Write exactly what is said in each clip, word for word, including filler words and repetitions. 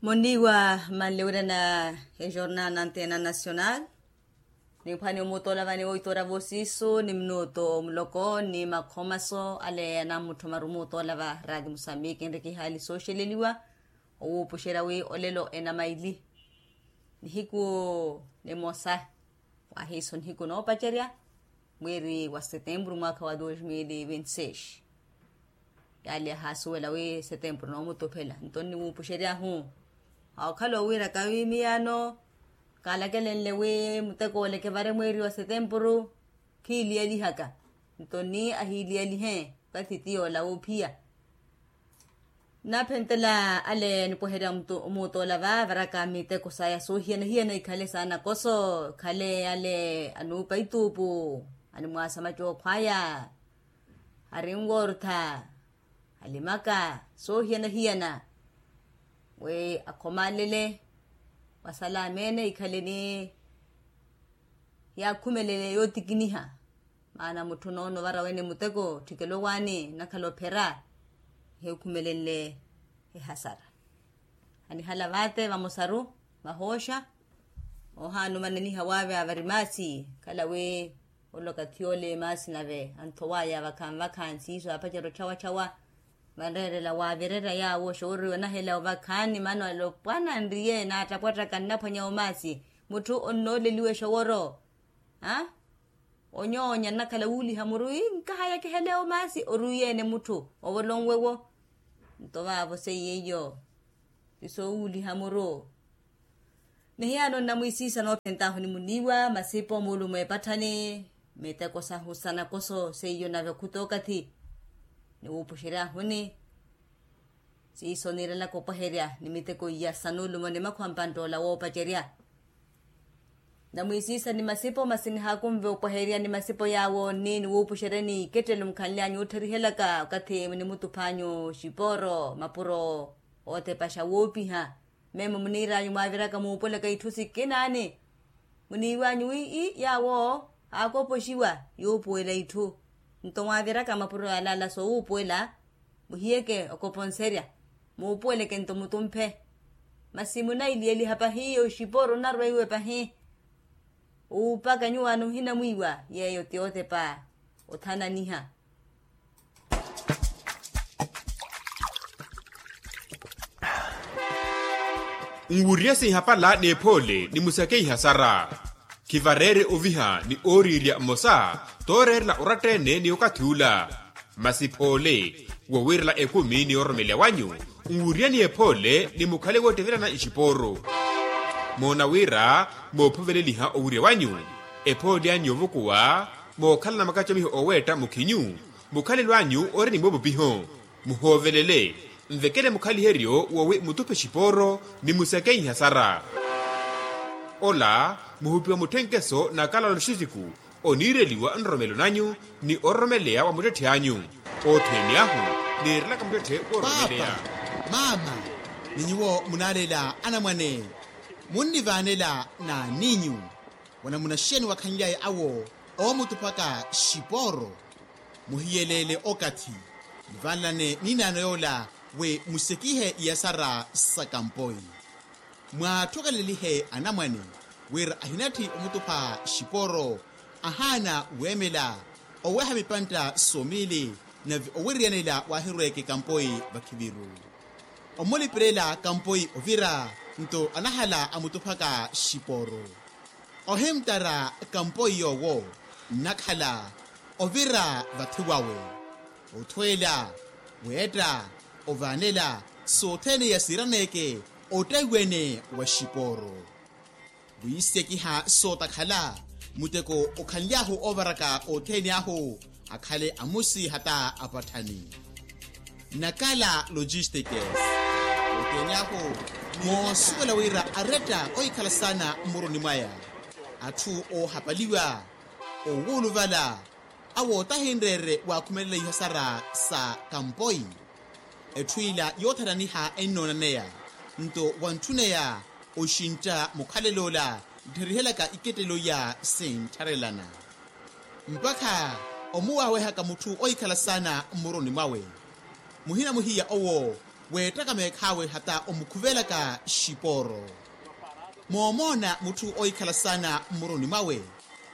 Munniiwa, manle wirana ejornal na antena nacional. Niphwani omuutola vani oitora voosiisu ni minuto muloko ni makhomaso ale anamutthoma rumu otola va rati musambiki enrikihaali sooxeleliwa. Owuupuxerya wi olelo enamaili nihiku nimosa wahiiso nihiku noopacerya mweeri wa setempuru mwaakha wa dos mil vinti seis. Yaali yahaasuwela wi setempuru noomutuphela nto nniwuupuxery'ahu. Awo okhala owiiraka wi miyaano kaalakelenle wi muteko ole kivare mweeri wa setempuru khiiliyalihaka nto ni ahiiliyalihe okathi ti yoola wuuphiya. Nnaphentela ale anipweherya omuutola va avaraka miteko saya soohiyana-hiyana ikhale saana koso ikhale ale anuupa ituupu animwaasa macookho aya arinwortha alimaka soohiyana-hiyana wi akhomalele wasala ameene ikhale ni yaakhumelele yootikiniha. Maana mutthu noono ovara wene muteko otthikela owaani nnakhala ophera eheekhumelenle ehasara. Anihala vaate vamosaru vahooxa ohaana omananiha waaveya vari maasi khala wi ole okathi ole maasi nave anthowaya vakhanvakha nsiiso apacerya otthawa-tthawa. Vanreerela waavirerya yaawo oxoworiwa nahela ovakhaani maana alopwana nriye naattapwattaka nnaphwanya omaasi mutthu onnooleliwa exoworo. Aa onyoonya nnakhala wuuliha muru ii nkahaya kiheleya omaasi orwiyeene mutthu ovolonwewo. Nto vaavo seiye iyo ti soowuuliha muru. Nihiyaano nnamwiisiisa noophent'ahu ni muniiwa masipo muulumo epatthani miteko sahu sa nakoso seiyo nave okhuta okathi niwuupuxery'ahuni. Siiso niirelaka opweherya ni miteko iya sa nuulumo ni makhwa mpantt'ola woopacerya. Namwiisiisa ni masipo masi nihaakunve opweherya ni masipo yaawo nni niwuupuxeryani ikettelo mukhanly'anyu oottherihelyaka okathi munimutuph'anyu xipooro mapuro ootepaxa woopiha. Memo muniir'anyu mwaaviraka muupuwelaka itthu sikinaani muniiw'anyu wi ii yaawo aakopoxiwa yuupuwela itthu. Nto mwaaviraka mapuro yalaala soowuupuwela muhiyeke okoponserya muupuweleke nto mutumphe. Masi munailiyeliha pahi oxipooro onnarweiwe pahi. Uupaka nyuwaano ohinamwiiwa yeeyo ti ootepa othananiha. Nwuriye sinhapala n'ephoole ni musakeiha sara. Khivareere oviha ni ooriirya mmosa tooreerela oratta-ene ni okathi ula. Masi phoole wowiirela ekumi ni ororomeleya wanyu nwuriyeni ephoole ni mukhale woottevelana nxipooro. Moona wira moophoveleliha owirya wanyu ephoole anyu yoovukuwa mookhalana makacamiho ooweetta mukhinyu. Mukhalelo anyu ori ni moopupiho muhoovelele nvekele mukhaliheryo wowi mutuphe xipooro ni musakeiha sara. Ola muhupiwa mutthenkeso na kalalo xisiku oniireliwa nroromelo nanyu ni ororomeleya wa muttetthe anyu. Othene ahu niirelaka muttetthe woororomeleya. Paapa, maama, ni nyuwo munaalela anamwane munnivaanela n'aninyu wanamuna xeeni wakhanlyaye awo oomutuphaka xipooro. Muhiyeleele okathi muvanlane n'inaano yoola wi musekihe iyasara sa kampoi. Mwaatthokhelelihe anamwane wira ahinatthi omutupha xipooro ahaana weemela oweha mipantta somiili nave owiriyanela waahirweeke kampoi vakhiviru. Omulipirela kampoi ovira nto anahala amutuphaka xipooro. Ohimttara kampoi yoowo nnakhala ovira vathi wawe othweela weetta ovaanela sothene iya siiraneeke ottaiwene wa xipooro. Wiisekiha sootakhala muteko okhanly'ahu oovaraka othene ahu akhale amusi hata apatthani. Nakala logistikes othene ahu moosuwela wira aretta ohikhala saana mmuroni mwaya atthu oohapaliwa owuuluvala awo tahinreere waakhumelela ihasara sa kampoi. Etthu ila yoothananiha ennoonanneya nto wantthuneya oxintta mukhalel'ola nttherihelyaka ikettelo iya sinttharelana mpakha omuwaawehaka mutthu ohikhala saana mmuroni mwawe. Muhina muhiya owo Weettaka meekhaawe hata omukhuvelaka xipooro. Moomoona mutthu oohikhala saana mmuruni mwawe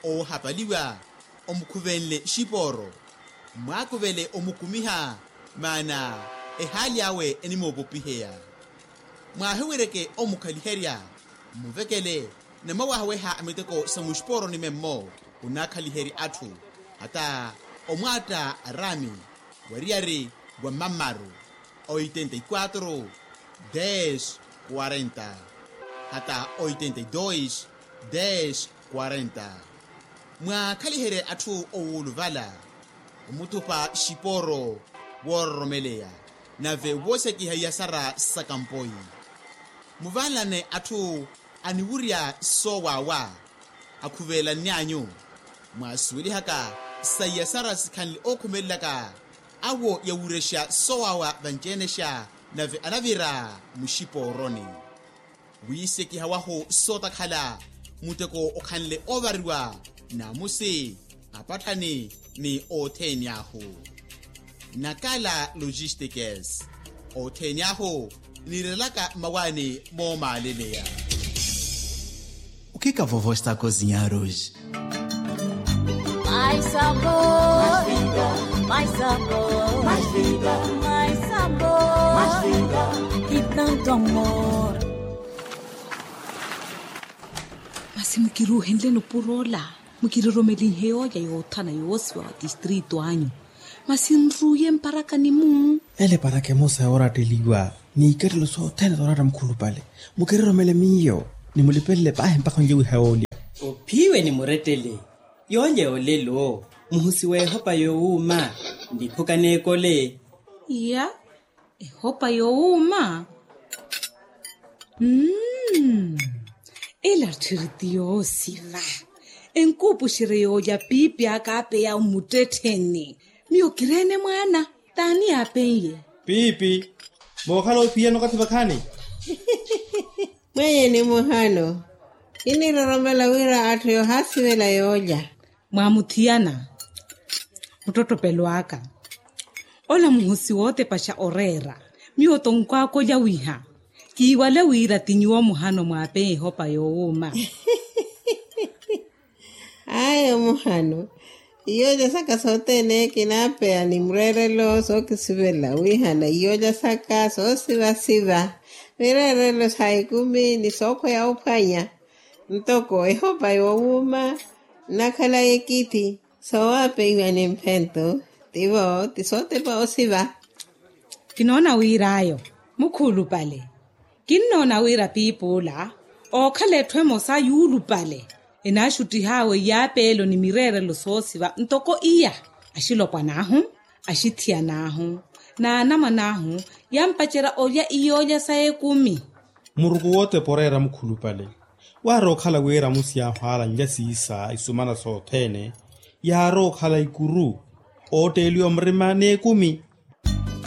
oohapaliwa, omukhuvenle xipooro, mwaakuvele omukumiha, maana ehaali awe enimoopopiheya. Mwaahiwereke omukhaliherya, mmuvekele, na mwawahaweha miteko sa muxipooroni memmo, onaakhaliherya atthu, hata omwaatta araami wariyari wa mammaru, oitenta y quatro, dez, quarenta, hata oitenta y dois, dez, quarenta. Mwaakhaliherye atthu owuuluvala, omuthupa xipooro woororomeleya, nave woosekiha iyasara sa kampoi. Muvanlane atthu aniwurya soowaawa, akhuvelanny'anyu. Mwaasuwelihaka sa iyasara sikhanle ookhumelelaka, awo yawurexa soowaawa vanci-enexa, nave anavira muxipooroni. Wiisekiha wahu sootakhala, muteko okhanle oovariwa, naamusi, apatthani, ni othene ahu. Nakala logistikes, othene ahu, niirelaka mmawaani moomaaleleya. O que que a vovó está a cozinhar hoje? Mais sabor, mais vida, mais sabor, mais vida, mais sabor, mais vida, e tanto amor. Masi mukiruuhenleni opuro ola, mukiriromelinhe yoolya yoothana yoosiwa wa tistrito anyu. Masi nruuye mparakani-mu. Ele eparaka emosa yooratteliwa, n'ikattelo sothene sooratta mukhulupale. Mukiriromele miyo, nimulipelele paahi mpakha onlye wiha yoolya. Ophiwe nimurettele, yoolya yoolelo, muhusi w'ehopa yoowuuma, niphuka n'ekole. Iya, ehopa yoowuuma. Mm. Ela tthiri ti yoosiva. Enkuupuxerye yoolya piipi aka apeya omuttettheni. Miyo kireene mwaana, t'ani yaapen'ye? Piipi, mookhala ophiyana okathi vakhaani? Mwenye ni muhano, kiniroromela wira atthu yoohaasivela yoolya. Mwaamuthiyana muttottopelo aka. Ola muhosi wootepaxa oreera, miyo tonkwaaka olya wiha. Kiiwale wira ti nyuwo muhano mwaapeya ehopa yoowuuma. Ayo muhano, iyoolya saka sothene kinaapeya ni mureerelo sookisivela wihana iyoolya saka soosivasiva, mireerelo sa ekumi ni sookhweya ophwanya. Ntoko ehopa yoowuuma, nnakhala ekithi, soowapeiwa ni mphento, tivo ti sootepa osiva. Kinoona wira ayo mukhuulupale. Kinnoona wira piipi ola ookhala etthu emosa yuulupale, enaaxuttih'awe iyaapeelo ni mireerelo soosiva ntoko iya. Axilopwan'ahu, axithiyan'ahu, n'anamwan'ahu, yampacerya olya iyoolya sa ekumi. Muruku wootepa oreera mukhulupale, waarowa okhala wira amusi ahwaala nlya siisa isumana sothene, yaarowa okhala ikuru, ootteeliwa murima n'ekumi.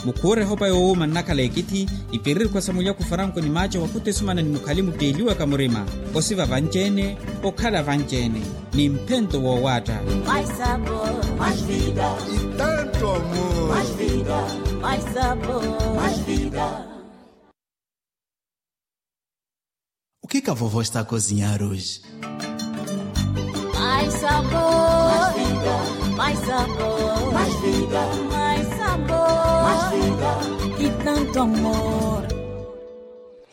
Mukhuure ehopa yoowuuma nnakhala ekithi, ipiririkhwa sa mulyaku faranko ni maaco wakuta esumana ni mukhali mutteeliwaka murima, osiva vanci-ene, okhala vanci-ene, ni mphento woowaatta. Mais sabor, mais vida. E tanto amor. Mais vida, mais sabor, mais vida. O que que a vovó está a cozinhar hoje? Mais sabor, mais vida, mais sabor, mais vida, mais sabor, mais vida, e tanto amor.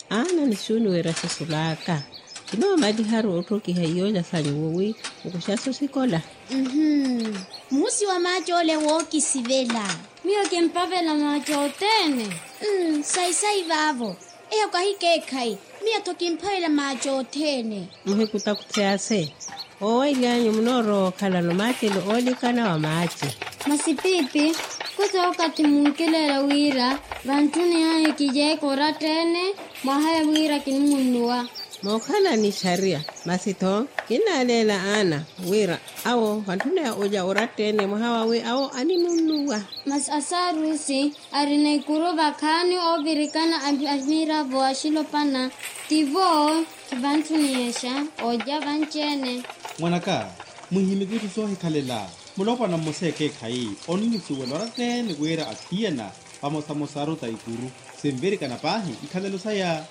Aana ni xuuni wira sisulaaka, kinoomaliharu otthokiha iyoolya sanyu wowi, okuxaso sikola. Mhuu. Muhusi wa maaci ole wookisivela. Miyo kimpavela maaci othene. Mmm, sayi-sayi vaavo. Eyo kahikeekhayi. Miyo-tho kimpavela maaci othene. Muhikutakuthi ase, oowaily'anyu munoorowa okhalano maacelo oolikana wa maaci. Masi piipi, khusa okathi munkileela wira vantthuni aye kijeeka oratta-ene, mwaha ya wira kinimunnuwa. Mookhala ni xariya, masi-tho kinnaaleela aana wira awo vantthuni aye olya oratta-ene mwaha wawi awo animunnuwa. Masi asaarusi arina ikuru vakhaani oovirikana a miravo axilopana, tivo kivantthuniyexa olya vanci-ene. Mwan'aka, muhimiki itthu soohikhalela. Mulopwana mmosa ekeekhayi onnusuwela oratta-ene wira athiyana vamosamosaru ta ikuru. Sinvirikana paahi ikhalelo saya.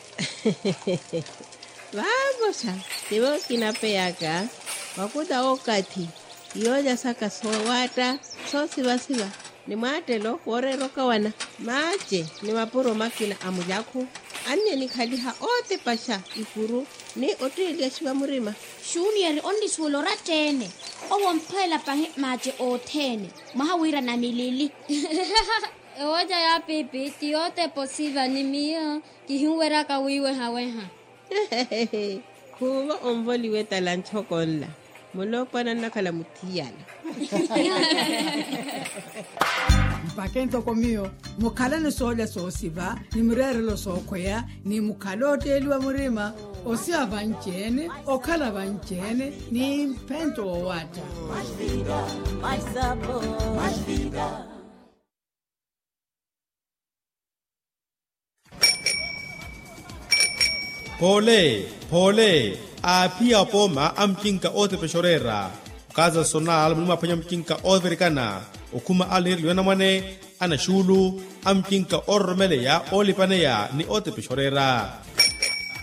Vaamosa, tivo kinapeyaka vakuta okathi, iyoolya saka soowaatta, soosivasiva ni mwaattelo wooreera okawana, maace ni mapuro makina a mulyakhu. Anni enikhaliha ootipaxa ikuru ni ottiilyaxiwa murima. Xuniyeri onnisuwela oratta-ene. Owo omphweela pahi maace othene. Mwaha wira namilili. Ewolya ya piipi ti yootepa osiva ni miyo kihinweryaka wiiwehaweha. Khuuvo onvoliwe tala ntxoko nla. Muloopwana nnakhala muthiyana. Mpakhe ntoko miyo mukhalani soolya soosiva ni mireerelo sookhweya ni mukhala ootteeliwa murima. Osiva vanci-ene, okhala vanci-ene ni mphento woowatta. Poole, poole. Aaphiya apooma a mucinka ootepexa oreera. Okaza sonal muni mwaphwanya mucinka oovirikana, okhuma alinireliwa anamwane, anaxuulu, a mucinka oororomeleya oolipaneya ni ootepexa oreera.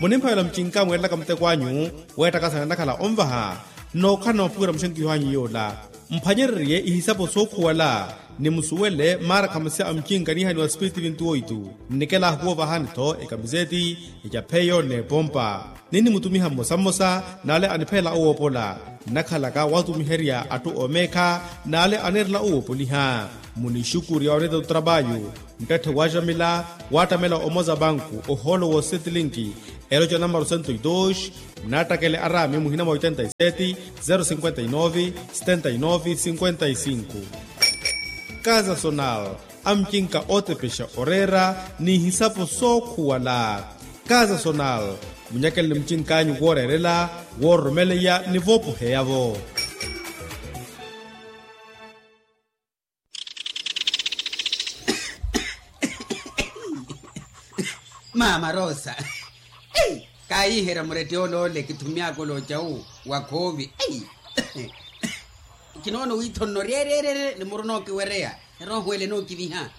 Munimphavela mucinka mweerelaka muteko anyu, weettakasana nnakhala onvaha. Nookhala na mapuwira muxenkiho anyu yoola. Mphwanyererye ihisapo sookhuwala ni musuwele maarakhamasi a mucinka niihaniwa spiritu vintu oitu. Nnikela ahuwoovahani-tho ekamiseti, ecapheyo n'epompa. Ninnimutumiha mmosa mmosa n'ale aniphelela owoopola. Nnakhalaka watumiherya atthu oomeekha n'ale aneerela owoopoliha. Munixukurya oneeta otrapayu, nttette waaxamila waattamela omoza banku ohoolo woosetlinki, eloca namaro sento e dos. Nnattakele araami muhina mwa oitenta e seti, zero cinquenta e nove, setenta e nove cinquenta e cinco. Kaza sonal, a mucinka ootepexa oreera n'ihisapo sookhuwala. Kaza sonal, munyakeleni mucinkanyu wooreerela, woororomeleya ni voopoheya-vo. Maama rosa, kaayiherya murette ole ole kithumiyaaka ole ocawu wa khoovi. Kinoona owiitho nno ryereerere ni muru nookiwereya, erooho ele nookiviha.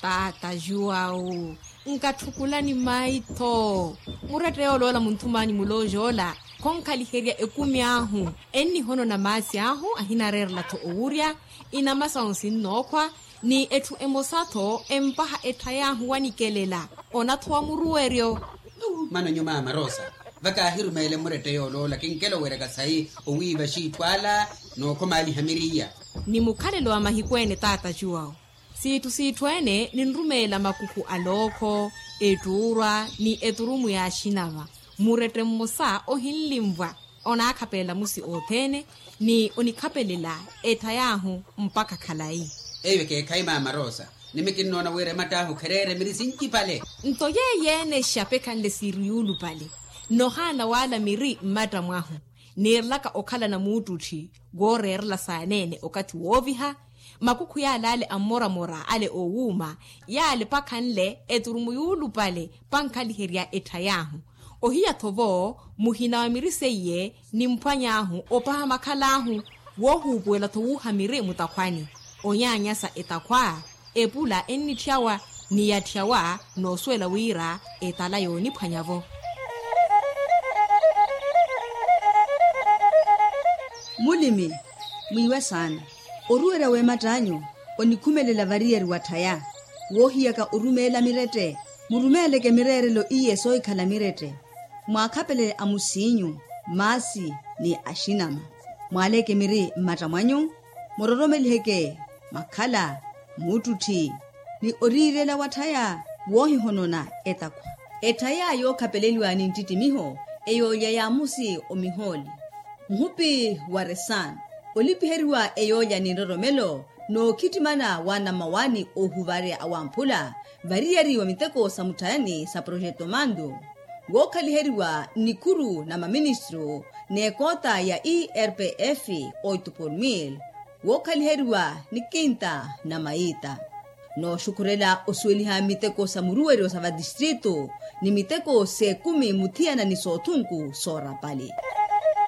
Taata juwawu, nkatthukulani maitho. Murette yooloola munthum'anyu mulooja ola khonkhaliherya ekumi ahu. Ennihonona maasi ahu ahinareerela-tho owurya, inama sahu sinnookhwa, ni etthu emosa-tho empaha ettha yaahu wanikelela. Onathowa muruweryo. Mano nyu maama rosa, vakaahirumeele murette yooloola kinkela oweryaka sayi owiiva xiitthu ala, nookhomaaliha miriya. Ni mukhalelo wa mahiku ene taata juwawu, siitthu siitthu ene ninrumeela makukhu a lookho, ettuurwa ni eturumu ya axinava. Murette mmosa ohinlinvwa onaakhapelela musi othene, ni onikhapelela ettha yaahu mpakha khalayi. Eyo ekeekhayi maama rosa, nimi kinnoona wira ematt'ahu khereere miri sincipale. Nto yeeyo-ene exapekhanle siiri yuulupale. Nohaana waala miri mmatta mwahu, niirelaka okhalana muuttutthi wooreerela saaneene okathi wooviha. Makukhu yaale ale a mmoramora ale oowuuma, yaale pakhanle eturumu yuulupale, pankhaliherya ettha yaahu. Ohiya-tho vo muhina wa miri seiye nimphwany'ahu opaha makhal'ahu, woohuupuwela-tho wuuha miri mutakhwani. Onyaanyasa etakhwa, epula ennitthyawa, ni yatthyawa noosuwela wira etala yooniphwanya-vo. Mulimi, mwiiwe saana. Oruwerya w'ematt'anyu onikhumelela variyari wa tthaya. Woohiyaka orumeela mirette, murumeeleke mireerelo iye soohikhala mirette. Mwaakhapelele amusiinyu, maasi ni axinama. Mwaaleke miri mmatta mwanyu, muroromeliheke makhala, muuttutthi, ni oriirela wa tthaya woohihonona etakhwa. Etthaya yookhapeleliwa ni nttittimiho, eyoolya ya musi omihooli, muhupi wa resan, olipiheriwa eyoolya ni nroromelo, nookhittimana wa namawani oohuvarya awamphula, variyari wa miteko sa mutthayani sa projeto mandu, wookhaliheriwa nnikhuru na maministru n'ekoota ya irpf, oito por mil, wookhaliheriwa ni kinta na mayiita. Nooxukhurela osuweliha miteko sa muruweryo sa vatistritu, ni miteko s'ekumi muthiyana ni soothunku soorapali.